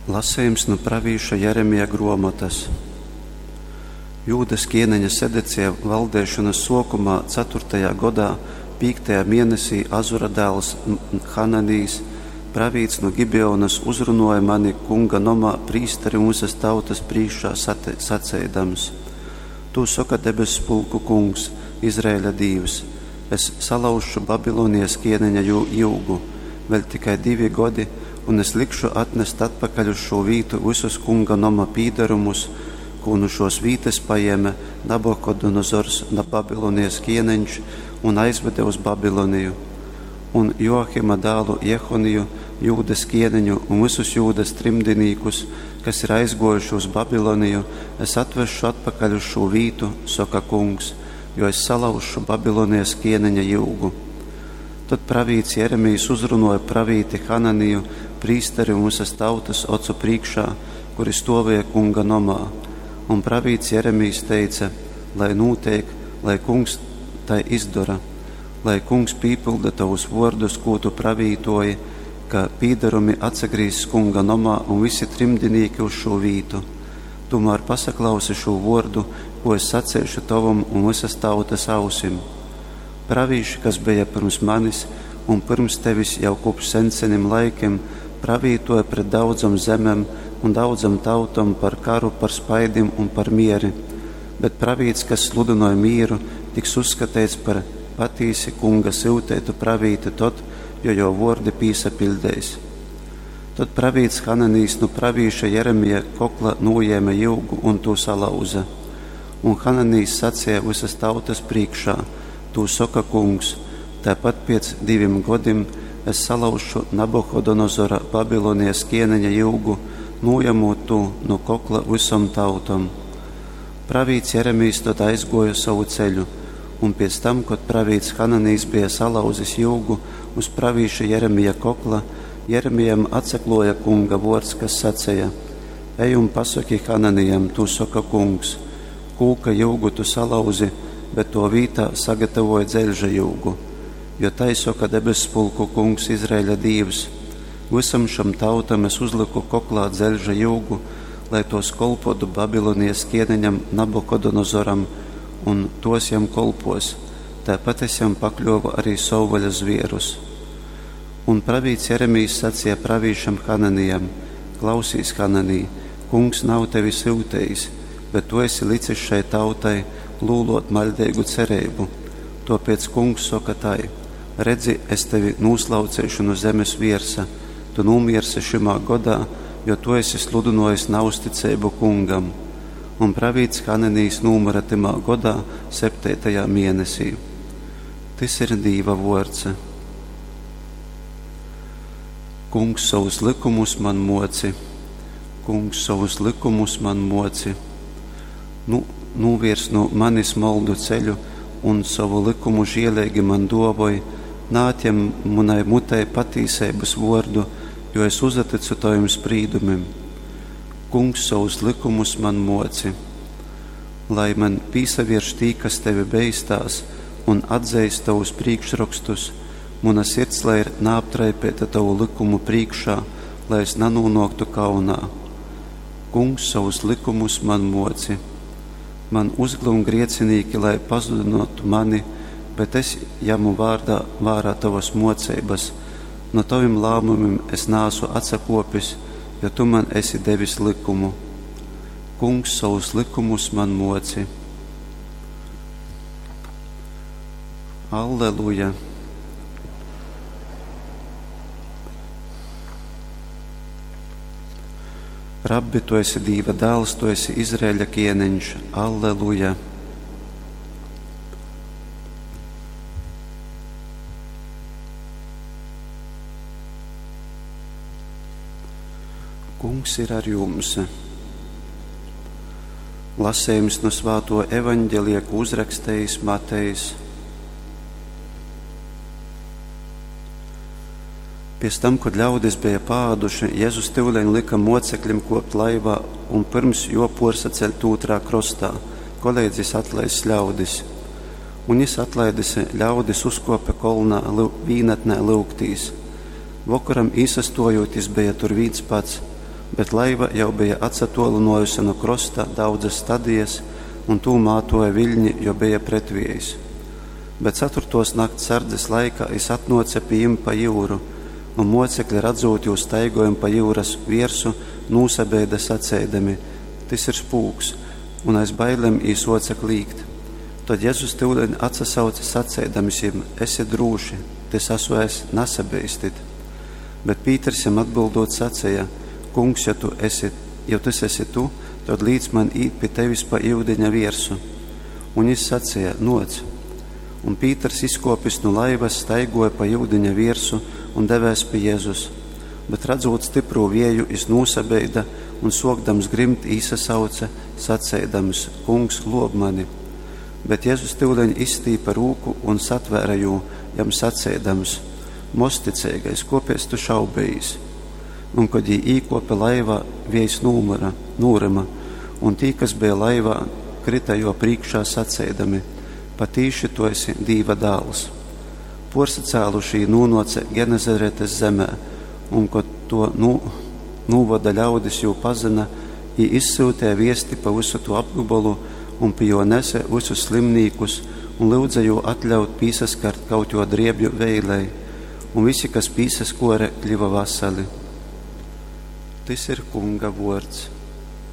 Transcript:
Lasejums nu pravīša Jeremija gruomotas. Jūdas kieneņa Sedecija valdeišonas suokumā, caturtajā godā, pīktajā mienesī Azura dāls Hananijs, pravīts nu Gibeonas, uzrunuoja mani Kunga nomā prīsteri un vysas tautas prīškā saceidams: Tū soka debesspulku Kungs, Izraeļa Dīvs, Es salauzšu Babilonijas kieneņa jyugu, vēļ tikai divi godi, un es likšu atnest atpakaļ uz šū vītu vysus Kunga noma pīdarumus, kū nu šōs vītas pajēme Nabukodonozors, Babilonijas kieneņš, un aizvede uz Babiloniju. Un Joakima dālu Jehoniju, Jūdas kieneņu, un vysus Jūdas trimdinīkus, kas ir aizgōjuši uz Babiloniju, es atvesšu atpakaļ uz šū vītu, soka Kungs, jo es salauzšu Babilonijas kieneņa jyugu. Tod pravīts Jeremijs uzrunuoja pravīti Hananiju, prīsteri un vysas tautas ocu prīškā, kuri stuovēja Kunga nomā. Un pravīts Jeremijs teice, Lai nūteik, lai Kungs tai izdora, lai Kungs pīpylda tovus vuordus, kū tu pravītoji, ka pīdarumi atsagrīzs Kunga nomā un vysi trimdinīki uz šū vītu. Tūmār pasaklausi šū vuordu, kū es saceišu tovom un vysas tautas ausim. Pravīši, kas beja pyrms manis un pyrms tevis jau kopš sensenim laikim, pravītoja pret daudzom zemem un daudzom tautom par karu, par spaidim un par mieri. Bet pravīts, kas sludynoj mīru, tiks uzskateits par patīsi Kunga syuteitu pravīti tod, jo jō vuordi pīsapiļdeis. Tod pravīts Hananijs nu pravīša Jeremija kokla nūjēme jyugu un tū salauze. Un Hananijs saceja vysas tautas prīškā, Tū soka Kungs, Taipat piec divim godim es salauzšu Nabuhodonozora, Babilonijas kieneņa jyugu, nūjamūt tū nu kokla vysom tautom. Pravīts Jeremijs tod aizguoja sovu ceļu, un piec tam, kod pravīts Hananijs beja salauzis jyugu uz pravīša Jeremija kokla, Jeremijam atsakluoja Kunga vuords, kas saceja, Ej un pasoki Hananijam, tū soka Kungs, Kūka jyugu tu salauzi, bet tuo vītā sagatavoji dzeļža jyugu. Jo tai soka debesspulku Kungs, Izraeļa Dīvs, Vysam šam tautam es uzlyku koklā dzeļža jyugu, lai tuos kolpuotu Babilonijas kieneņam Nabukodonozoram, un tuos jam kolpuos, taipat es jam pakļuovu arī sovvaļas zvierus. Un pravīts Jeremijs saceja pravīšam Hananijam, Klausīs, Hananij, Kungs nav tevi syutejis, bet tu esi licis šai tautai lūlōt maļdeigu cereibu. Tōpēc Kungs soka tai, Redzi, es tevi nūslauceišu nu zemes viersa, tu nūmiersi šymā godā, jo tu esi sludynōjis nauzticeibu Kungam. Un pravīts Hananijs nūmyra tymā godā, septeitajā mienesī. Tys ir Dīva vōrds. Kungs, sovus lykumus man mōci. Kungs, sovus lykumus man mōci. Nu, nūviers nu manis moldu ceļu un sovu lykumu žieleigi man dōvoj, naatjem munai mutei patīseibas vōrdu, jo es uzatycu tovim sprīdumim. Kungs, sovus lykumus man mōci. Lai man pīsavierš tī, kas tevi beistās un atzeist tovus prīkšrokstus, muna sirds lai ir naaptraipeita tovu lykumu prīškā, lai es nanūnōktu kaunā. Kungs, sovus lykumus man mōci. Man uzglum griecinīki, lai pazudynōtu mani, bet es jamu vārdā, vārā tovas mōceibas. Nu tovim lāmumim es naasu atsakōpis, jo tu man esi devis lykumu. Kungs, sovus lykumus man mōci. Alleluja! Rabbi, tu esi Dīva dāls, tu esi Izraeļa kieneņš. Alleluja! Kungs ir ar jums. Lasējums no svāto evaņģelija, ko uzrakstējis Matejs. Piec tam, kod ļaudis beja paāduši, Jezus tyuleņ lyka moceklim kuopt laivā un pyrms juo puorsaceļt ūtrā krostā, koleidz jis atlaiss ļaudis. Un jis, atlaidis ļaudis, uzkuope kolnā vīnatnē lyugtīs. Vokoram īsastuojūt, jis beja tur vīns pats. Bet laiva jau beja atsatōlynōjuse nu krosta daudzas stadijas, un tū mātōja viļni, jo beja pretviejs. Bet caturtōs nakts sardzes laikā jys atnōce pi jim pa jyuru, un mōcekli, radzūt jū staigojam pa jyuras viersu, nūsabeida saceidami, Tys ir spūks! Un aiz bailem jī sōce klīgt. Tod Jezus tyuleņ atsasauce saceidams jim, Esit drūši, tys asu es, nasabeistit! Bet Pīters jam atbyldūt saceja, Kungs, ja tu esi, jo tys esi tu, tod līc man īt pi tevis pa yudiņa viersu. Un jys saceja, Nōc! Un Pīters, izkōpis nu laivas, staigōja pa yudiņa viersu un devēs pi Jezus. Bet, radzūt styprū vieju, jys nūsabeida un, sōkdams grimt, īsasauce, saceidams, Kungs, glōb mani! Bet Jezus tyuleņ izstīpe rūku un satvēre jū, jam saceidams, Mozticeigais, kōpēc tu šaubejīs? Un, kod jī īkōpe laivā, viejs nūmyra, nūryma, un tī, kas beja laivā, kryta jō prīškā saceidami, Patīši tu esi Dīva Dāls. Pōrsacāluši jī nūnōce Genezaretes zemē, un, kod tō nūvoda ļaudis jū pazyna, jī izsyuteja viesti pa vysu tū apgobolu un pi jō nese vysus slimnīkus un lyudze jū atļaut pīsaskart kaut jō driebju veilei. Un vysi, kas pīsaskōre, kļiva vasali. Tys ir Kunga vōrds.